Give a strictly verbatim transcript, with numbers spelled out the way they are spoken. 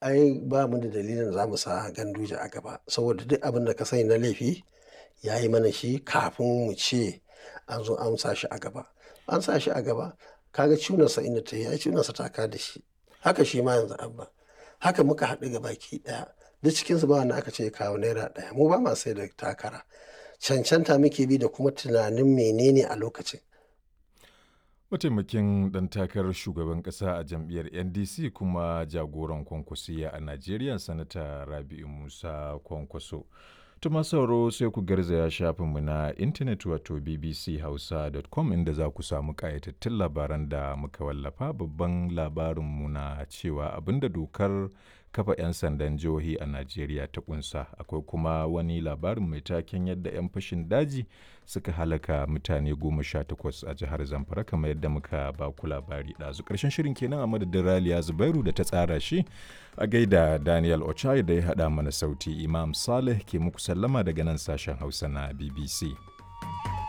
Ai ba mu da dalilin za mu sa Ganduje a gaba saboda duk abin da ka sani na laifi ya yi mana shi kafin mu ce an zo an sa shi a gaba. An sa shi a gaba, ka ga cunarsa inda ta yi, ai cunarsa ta ka da shi. Haka shi ma yanzu Abba. Haka muka haɗu gabaki ɗaya. Duk cikinsu ba wanda aka ce ya kawo naira ɗaya. Mu ba ma sai da takara. Cancanta muke bi da kuma tunanin menene a lokacin. Mataimakin ɗan takarar shugaban ƙasa a jam'iyyar N D C kuma jagoran Kwankwasiyya a Najeriya, Sanata Rabi'u Musa Kwankwaso. Tuma sauro, sai ku garzaya shafinmu na intanet wato B B C hausa dot com inda za ku samu ƙayatattun labaran da muka wallafa. Babban labarinmu na cewa abinda dokar kafa 'yan sandan jihohi a Najeriya ta kunsa. Akwai kuma wani labarin mai taken yadda 'yan fashin daji suka halaka mutane goma sha takwas a jihar Zamfara, kamar yadda muka ba ku labari ɗazu. Ƙarshen shirin kenan a madadin Raliya Zubairu da ta tsara shi, a gaida Daniel Ochai da ya haɗa mana sauti. Imam Saleh ke muku sallama daga nan sashen Hausa na B B C.